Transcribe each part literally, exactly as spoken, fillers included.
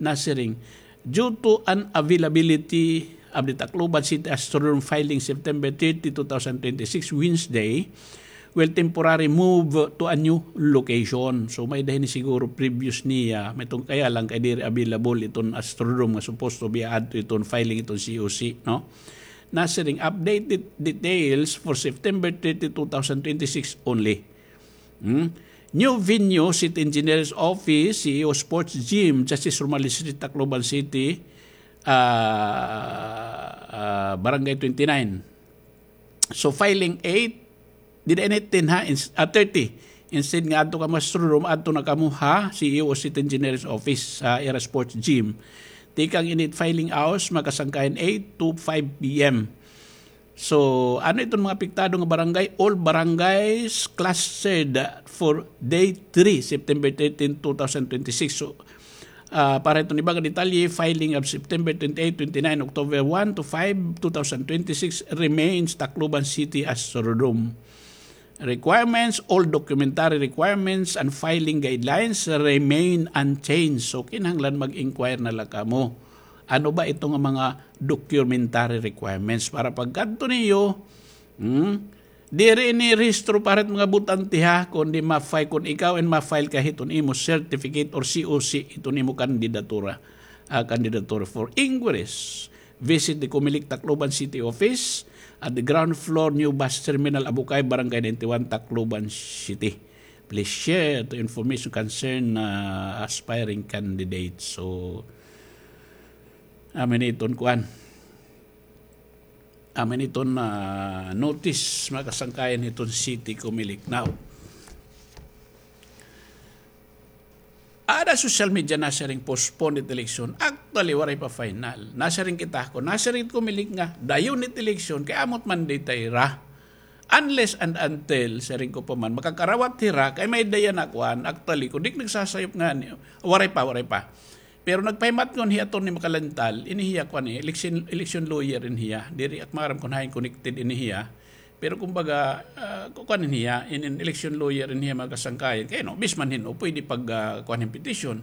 Nasiring, due to unavailability of the Tacloban City Astrodome filing September thirty, two thousand twenty-six, Wednesday, will temporarily move to a new location. So, may-ada hini siguro previous niya, may-ada kaya lang kay diri available iton Astrodome nga supposed to be add to iton filing iton C O C, no? Nasiring, updated details for September thirty, two thousand twenty-six only. Hmm? New venue, City Engineer's Office, C E O Sports Gym, Justice Romaliz Street, Tacloban City, ah, ah, Barangay twenty-nine. So, filing eight, dida ini ten ha, ins-, ah, thirty. Instead nga adto kamo ha Astrodome, adto na kamo ha C E O City Engineer's Office, ha ira sports gym. Tikang ini filing hours, mga kasangkayan, eight to five P M. So, ano iton mga apektado nga barangay? All barangays clustered for day three, September thirteen, two thousand twenty-six. So, ah, para iton iba nga detalye, filing of September twenty-eight, twenty-nine, October one to five, two thousand twenty-six remains Tacloban City Astrodome. Requirements, all documentary requirements and filing guidelines remain unchanged. So, kinahanglan mag-inquire na la kamo. Ano ba ito nga mga documentary requirements? Para pagkadto niyo, hmm, diri ini rehistro para it mga botante ha, kundi ma-file, kun ikaw in ma-file ka hiton imo certificate or C O C, hiton imo kandidatura, ah, kandidatura for inquiries. Visit the Comelec Tacloban City Office at the ground floor, New Bus Terminal, Abukay, Barangay ninety-one, Tacloban City. Please share the information concern, uh, aspiring candidates. So, amo ini iton kuan. Amo ini iton, uh, notice, mga kasangkayan, hiton City Comelec. Now, ada social media nasiring postpone it election. Actually, waray pa final. Nasiring kita ko, nasiring Comelec nga, dayon it election, kay amo it mandate hira. Unless and until, siring ko pa man, makakarawat hira, kay may daya na kuan. Actually, kun di nagsasayop nga niyo, waray pa, waray pa. Pero nagpahimatngon hi Attorney Macalintal, ini hiya kuan, eh, election, election lawyer in hiya. Diri ak maaram kun hain connected ini hiya. Pero kumbaga, ah, ku-, kuan in hiya, in, in election lawyer in hiya, mga kasangkayan. Kay no, bis man hin, o pwede pag, ah, kuan hin petition.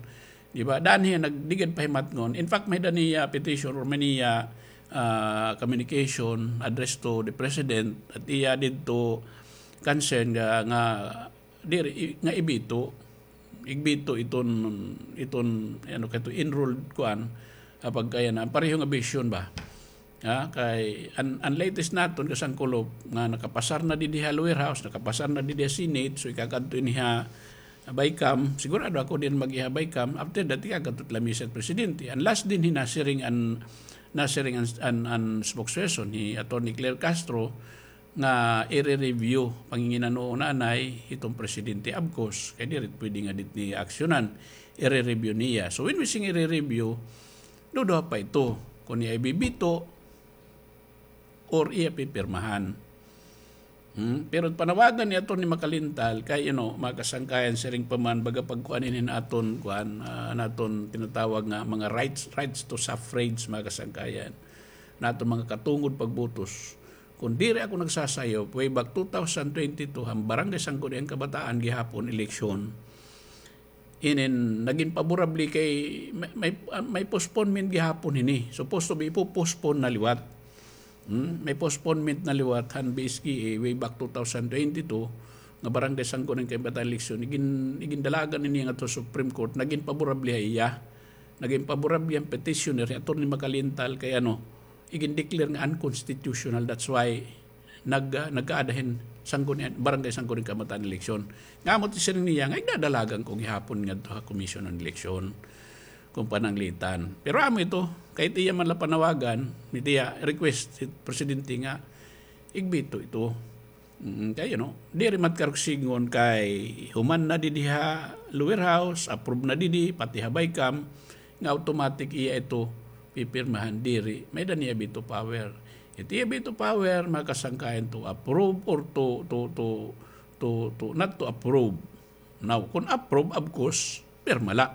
Di ba? Daan hiya nag-, di gad pahimatngon. In fact, may-ada niya petition or may niya, ah, communication address to the president at iya didto concern nga, nga diri, i-, nga ibito, igbito iton, iton, ano, kato enrolled kuan, ah, pagkaya na, pareho nga vision ba? Ha, kay an, an latest naton kasangkulop nga nakapasar na didi ha lower house, nakapasar na didi ha Senate, so ikakadto ini ha BICAM, sigurado ako diin mag-iya ha BICAM, after that ikakadto lamesa it presidente. An last dinhi nasiring an, nasiring an, an, an spokesperson, hi Attorney Claire Castro, nga ire-review, panginginano nanay, hiton presidente, of course, kay diri pwede nga diri niya aksyonan, ire-review niya. So, when we sing ire-review, duduha pa ito, kun iya ibibito, or iya pipirmahan. Hmm? Pero panawagan ni Attorney Macalintal, kay, you know, mga kasangkayan, siring pa man, baga pagkuan ini naton, kuan, ah, naton tinatawag nga mga rights, rights to suffrage, mga kasangkayan. Naton mga katungod pagbutos. Kun diri ako nagsasayop, way back two thousand twenty-two, an Barangay Sangguniang Kabataan gihapon, eleksyon. Inin, nagin paborable kay may, may, ah, may postponement gihapon hini. Supposed to be, ipo-postpone na liwat. Hmm? May postponement na liwat han B S K A way back two thousand twenty-two nga Barangay Sangguniang Kabataan eleksyon. Igin-, igindalagan ini ngadto ha Supreme Court. Nagin paborable ha iya. Nagin paborable an petitioner, hi Attorney Macalintal, kay ano, igin-declare nga unconstitutional. That's why nag-, ah, nagkaada hin Sangguniang, Barangay Sangguniang Kabataan eleksyon. Nga amo it siring niya, nga igdadalagan ko gihapon ngadto ha Commission on Election, kun pananglitan. Pero amo ito, kay it iya man la panawagan, it iya request, it presidente nga, igbito ito. Mm, kay, you know, diri man karuyag sidngon kay human na didi ha lower house, approve na didi, pati ha BICAM, nga automatic iya ito pipirmahan, diri. May-ada niya veto power. It iya veto power, mga kasangkayan, to approve or to, to, to, to, to not to approve. Now, kun approve, of course, pirma la.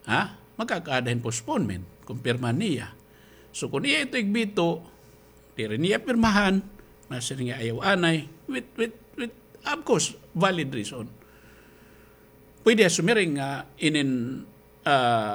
Ha? Makakaada hin postponement, kun pirmahan niya. So, kun iya ito igbito, diri niya pirmahan, masiring nga ayaw anay, with, with, with, of course, valid reason. Pwede siya sumiring nga inin, ah,